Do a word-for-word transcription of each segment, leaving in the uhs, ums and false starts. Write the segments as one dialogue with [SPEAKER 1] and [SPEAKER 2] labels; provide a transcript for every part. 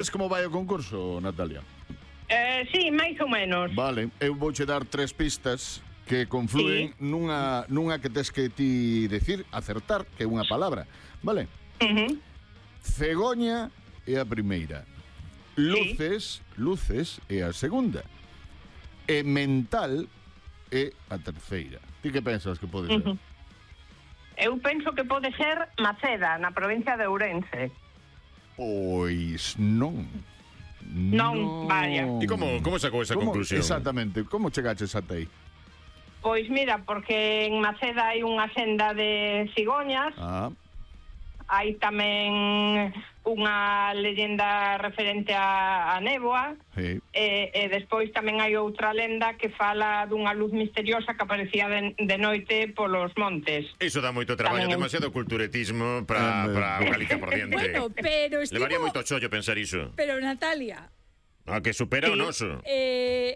[SPEAKER 1] Es como vai o concurso, Natalia?
[SPEAKER 2] Eh, sí, máis ou menos.
[SPEAKER 1] Vale, eu vouche dar tres pistas que confluen
[SPEAKER 2] Sí.
[SPEAKER 1] nunha, nunha que tes que ti decir, acertar, que é unha palabra, vale?
[SPEAKER 2] Uh-huh.
[SPEAKER 1] Cegoña é a primeira. Luces, sí. luces é a segunda. E mental é a terceira. Ti que pensas que pode ser?
[SPEAKER 2] Uh-huh. Eu penso que pode ser Maceda, na provincia de Ourense.
[SPEAKER 1] Pois non.
[SPEAKER 2] Non, vaya.
[SPEAKER 3] E como, como sacou esa
[SPEAKER 1] Como,
[SPEAKER 3] conclusión?
[SPEAKER 1] exactamente, como chegaches ata aí?
[SPEAKER 2] Pois mira, porque en Maceda hai unha senda de cigoñas,
[SPEAKER 1] Ah,
[SPEAKER 2] hai tamén unha leyenda referente a, a néboa,
[SPEAKER 1] sí.
[SPEAKER 2] e, e despois tamén hai outra lenda que fala dunha luz misteriosa que aparecía de, de noite polos montes.
[SPEAKER 3] Iso dá moito traballo,
[SPEAKER 2] Tamén.
[SPEAKER 3] demasiado culturetismo para
[SPEAKER 1] Eh,
[SPEAKER 3] para Galicia por diante.
[SPEAKER 4] Bueno, pero estivo...
[SPEAKER 3] Levaría moito chollo pensar iso.
[SPEAKER 4] Pero Natalia,
[SPEAKER 3] A que supera o
[SPEAKER 2] Sí.
[SPEAKER 3] noso.
[SPEAKER 4] eh,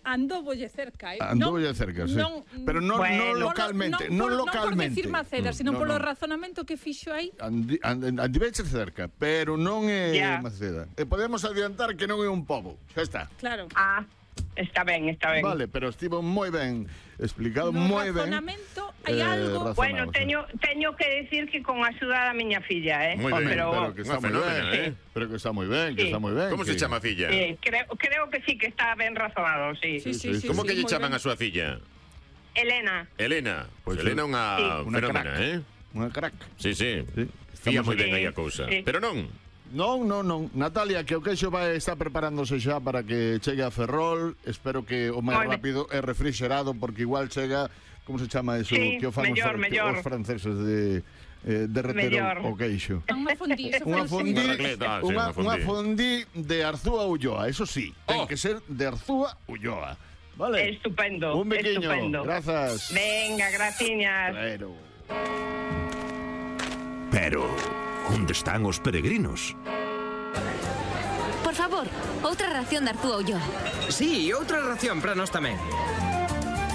[SPEAKER 4] andoubolle cerca, eh?
[SPEAKER 1] Andoulle cerca, sí.
[SPEAKER 4] Non,
[SPEAKER 1] Pero non,
[SPEAKER 2] Bueno.
[SPEAKER 1] non localmente, non,
[SPEAKER 4] por,
[SPEAKER 1] localmente.
[SPEAKER 4] Non por decir Maceda,
[SPEAKER 1] Mm,
[SPEAKER 4] sino
[SPEAKER 1] no,
[SPEAKER 4] polo
[SPEAKER 1] no.
[SPEAKER 4] razonamento que fixo aí.
[SPEAKER 1] Andi, and, andiveche cerca, pero non é
[SPEAKER 2] Ya.
[SPEAKER 1] Maceda. E podemos adiantar que non é un pobo. Xa está.
[SPEAKER 4] Claro.
[SPEAKER 2] Ah, está ben, está ben.
[SPEAKER 1] Vale, pero estivo moi ben explicado,
[SPEAKER 4] No
[SPEAKER 1] moi ben.
[SPEAKER 4] razonamento hai
[SPEAKER 1] Eh,
[SPEAKER 4] algo...
[SPEAKER 1] razonado,
[SPEAKER 2] Bueno,
[SPEAKER 1] sí.
[SPEAKER 2] teño, teño que decir que con a axuda da miña filla, eh?
[SPEAKER 3] Moi
[SPEAKER 1] Home,
[SPEAKER 3] ben,
[SPEAKER 2] pero,
[SPEAKER 1] pero que está
[SPEAKER 3] Unha
[SPEAKER 1] moi ben,
[SPEAKER 3] fenómena, eh?
[SPEAKER 1] Pero que está moi ben, que
[SPEAKER 2] Sí.
[SPEAKER 1] está moi ben.
[SPEAKER 3] Como se
[SPEAKER 1] que-
[SPEAKER 3] chama a filla?
[SPEAKER 2] sí, creo, creo que sí que está ben razonado, sí.
[SPEAKER 4] Sí,
[SPEAKER 1] sí,
[SPEAKER 4] sí, sí,
[SPEAKER 3] Como
[SPEAKER 4] sí,
[SPEAKER 3] que lle
[SPEAKER 4] moi
[SPEAKER 3] chaman
[SPEAKER 4] ben.
[SPEAKER 3] a súa filla?
[SPEAKER 2] Elena.
[SPEAKER 3] Elena. Pois
[SPEAKER 1] Pois
[SPEAKER 3] Elena é unha
[SPEAKER 2] Sí.
[SPEAKER 1] Unha
[SPEAKER 3] fenómena,
[SPEAKER 1] crack.
[SPEAKER 3] eh?
[SPEAKER 1] Unha crack.
[SPEAKER 3] Sí, sí.
[SPEAKER 1] Sí.
[SPEAKER 3] Fía
[SPEAKER 1] Estamos
[SPEAKER 3] moi ben
[SPEAKER 2] aquí.
[SPEAKER 3] aí a cousa.
[SPEAKER 2] Sí.
[SPEAKER 3] Pero non.
[SPEAKER 1] Non, non, non. Natalia, que o queixo vai estar preparándose xa para que chegue a Ferrol. Espero que o máis
[SPEAKER 2] Moi ben.
[SPEAKER 1] rápido é refrigerado, porque igual chega, como se chama eso,
[SPEAKER 2] Sí,
[SPEAKER 1] que o fan os,
[SPEAKER 2] mellor,
[SPEAKER 1] fran-
[SPEAKER 2] mellor.
[SPEAKER 1] os franceses de eh, derreter
[SPEAKER 2] Mellor.
[SPEAKER 1] o, o queixo.
[SPEAKER 4] Unha fondí, eso
[SPEAKER 1] Unha
[SPEAKER 4] foi
[SPEAKER 1] fondí,
[SPEAKER 3] Unha racleta, ah, sí,
[SPEAKER 1] unha,
[SPEAKER 3] unha
[SPEAKER 1] unha
[SPEAKER 3] fondí.
[SPEAKER 1] fondí de Arzúa Ulloa, eso sí, ten
[SPEAKER 3] Oh.
[SPEAKER 1] que ser de Arzúa Ulloa. Vale?
[SPEAKER 2] Estupendo,
[SPEAKER 1] Un biquiño,
[SPEAKER 2] estupendo.
[SPEAKER 1] grazas.
[SPEAKER 2] Venga, graciñas.
[SPEAKER 1] Pero...
[SPEAKER 5] Pero, onde están os peregrinos?
[SPEAKER 6] Por favor, outra ración de Arzúa Ulloa.
[SPEAKER 7] Sí, outra ración para nós tamén.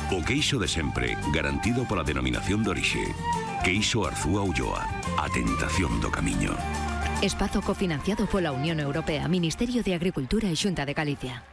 [SPEAKER 5] O queixo de sempre, garantido pola denominación de orixe. Queixo Arzúa Ulloa, a tentación do camiño.
[SPEAKER 6] Espazo cofinanciado pola Unión Europea, Ministerio de Agricultura e Xunta de Galicia.